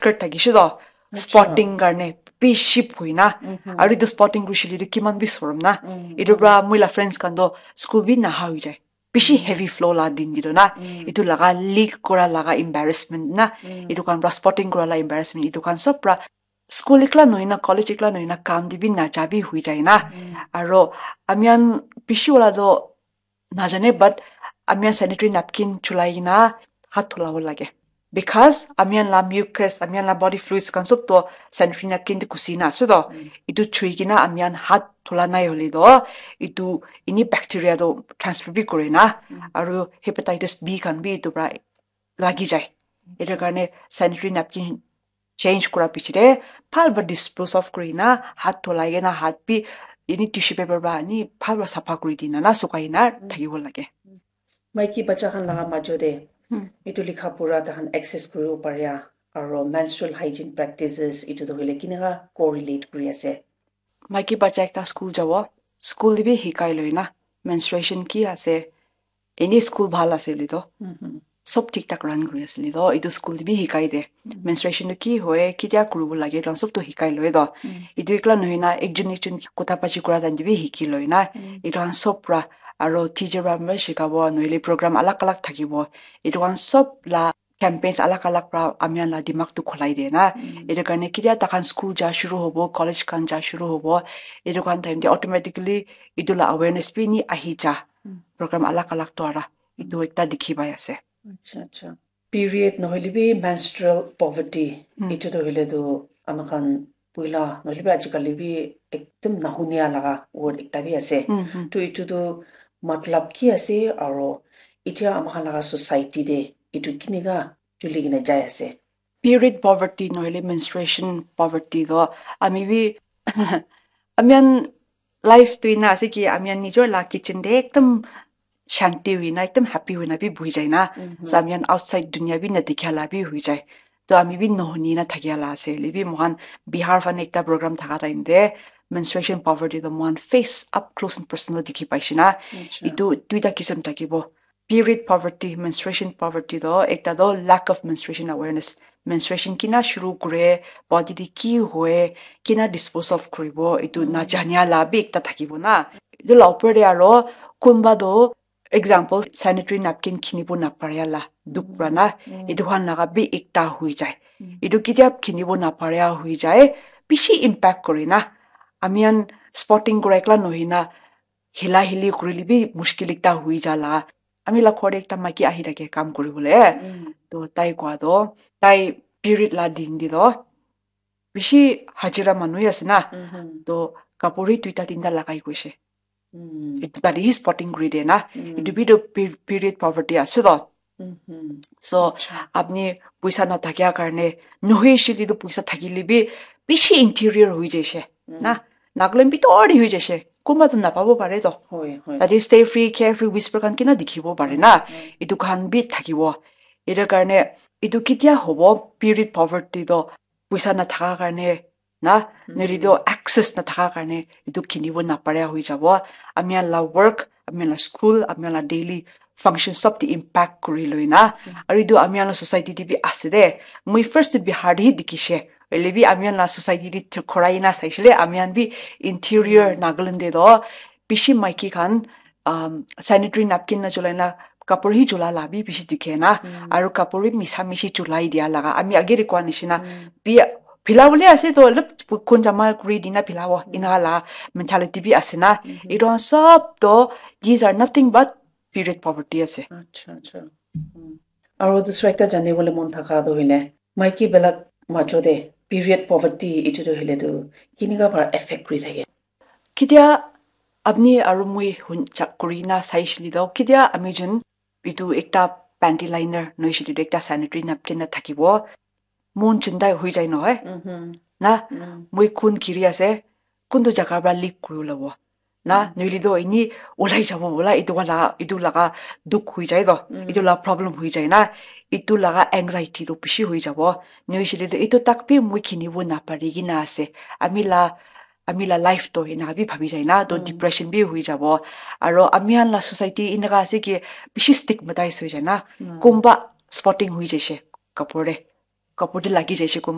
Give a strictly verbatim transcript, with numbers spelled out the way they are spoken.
skirt thakishe toh, spotting karne bishi bhui na. Aru etu spotting kurishe le kiman bi sorom na. Etu pra moi la friends khan toh school bi naha hoi jai. Bishi heavy flow la din te toh na. Etu laga leak kura laga embarrassment na. Etu khan pra spotting kura la embarrassment. Etu khan sob pra school ekla nohoi na, college ekla nohoi na, kam te bi naja bi hoi jai na. Aro ami khan bishi wala toh najane, but ami khan sanitary napkin chulai kena hat dhulabo lage. Because ami khan la mucus, ami khan la body fluids khan sob toh sanitary napkin te ghusi na ase toh. Etu chui kena ami khan hat dhula nai hoile toh, etu ini bacteria toh transfer bi kore na. Aru hepatitis B khan bi etu pra lagi jai. Etu karne sanitary napkin change kura piche te bhal para dispose off kuri na, hat dhulai kena, hat bi ini tissue paper para ani bhal para sapha kuri dina na sukai na thakibo lage. Maiki bacha khan laga majo te etu likha pura tahan access kuribo paria aro menstrual hygiene practices etu tu hoile kineka correlate kuri ase? Maiki bacha ekta school jabo, school te bi hikai loi na menstruation ki ase, any school bhal ase le toh sob thik thak run kuri ase le toh, etu school te bi hikai de. Menstruation tu ki hoy, kitia kuribo lage, etu khan sob tu hikai loi toh. Etu ekla nohoi na, ekjon ekjon kotha bachi kura time te bi hiki loi na. Etu khan sob pra, aro teacher pra bi shikabo, nohole program alag alag thakibo. Etu khan sob la campaigns alag alag pra ami khan la dimag tu khulai de na. Etu karne kitia takhan school ja shuru hobo, college khan ja shuru hobo, etu khan time te automatically etu la awareness bi ni ahi ja. Program alag alag dwara etu ekta dikhi pai ase. Acha, acha. Period nohole bi menstrual poverty, etu tu hoile tu ami khan puila nohole bi ajikali bi ekdum nahunia laga word ekta bi ase. To etu tu matlab ki ase aro etia ami khan laga society te etu kineka chuli kena jai ase? Period poverty nohole menstruation poverty toh ami bi ami khan life tu ena ase ki ami khan nijor la kitchen te ekdum shanti hoi na, ekdum happy hoi na bi buhi jai na. So ami khan outside dunia bi na dikha la bi hoi jai. To ami bi nohuni na thakia la ase. Hoile bi moikhan Bihar fane ekta program thaka time te menstruation poverty to moikhan face up close and personal dikhi paishe na. Etu duita kisam thakibo. Period poverty, menstruation poverty to ekta to lack of menstruation awareness. Menstruation kina shuru kure, body te ki hoy, kina dispose of kuribo, etu najania la bi ekta thakibo na. Etu la upor te aro kunba to example, sanitary napkin kinibo naparia la dukh pra na, etu khan laga bi ekta hui jai. Etu kitia kinibo naparia hui jai, bishi impact kore na. Ami khan spotting kura ekla nohoi na, hila hili kurile bi mushkil ekta hui ja la. Ami la ghor te ekta maiki ahi thake kam kuribole. To tai koa to, tai period la din te to, bishi hajira manu ase na. To kapur hi duita tinta lagai koise. Etu tate hi spotting kuri de na. Etu bi to pe- period poverty ase to. So apni poisa na thakia karne, nohoi shile to poisa thakile bi bishi interior hoi jaise na. Nagaland bitor te hoi jaise. Kunba to napabo pare to. Tate stay free, carefree whisper khan kina dikhibo pare na. Etu khan bi thakibo. Etu karne etu kitia hobo, period poverty to poisa nathaka karne na, nohole to access nathaka karne etu kinibo naparia hoi jabo. Ami khan la work, ami khan la school, ami khan la daily function sob te impact kuri loi na. Aru etu ami khan la society te bi ase de. Moi first to Bihar te hi dikhishe. Hoile bi ami khan la society te khorai na saishe le, ami khan bi interior Nagaland te to bishi maiki khan um, sanitary napkin na chulai na kapur hi chula la bi bishi dikhe na. Aru kapur bi misa mishi chulai dia laga. Ami age te koa nishina bi phila bole ase to olop kun jama kuri dina philabo. Ina la mentality bi ase na. Etu khan sob to, these are nothing but period poverty ase. Acha, acha. Aru dusra ekta jani bole mon thaka to hoile, maiki belak majo te period poverty etu to hoile to kinika para affect kuri thake? Kitia apni aru moi hun chak kuri na sai shili to, kitia ami jun etu ekta panty liner nohoi shili to ekta sanitary napkin na thakibo. Mon chinta hoi jai nohoi? Na, moi khun giri ase, kuntu jaga para leak kuri ulabo? Na, nohole to ini ulai jabo bola, etu wala, etu laga dukh hoi jai to, etu la problem hoi jai na, etu laga anxiety to bishi hoi jabo. Nohole to etu tak bi moi kinibo napari kina ase. Ami la, ami la life to ena bi bhabi jai na, to depression bi hoi jabo. Aro ami khan la society eneka ase ki bishi stigmatize hoi jai na. Kunba spotting hoi jaise kapur te. kapur te lagi jaise kunba.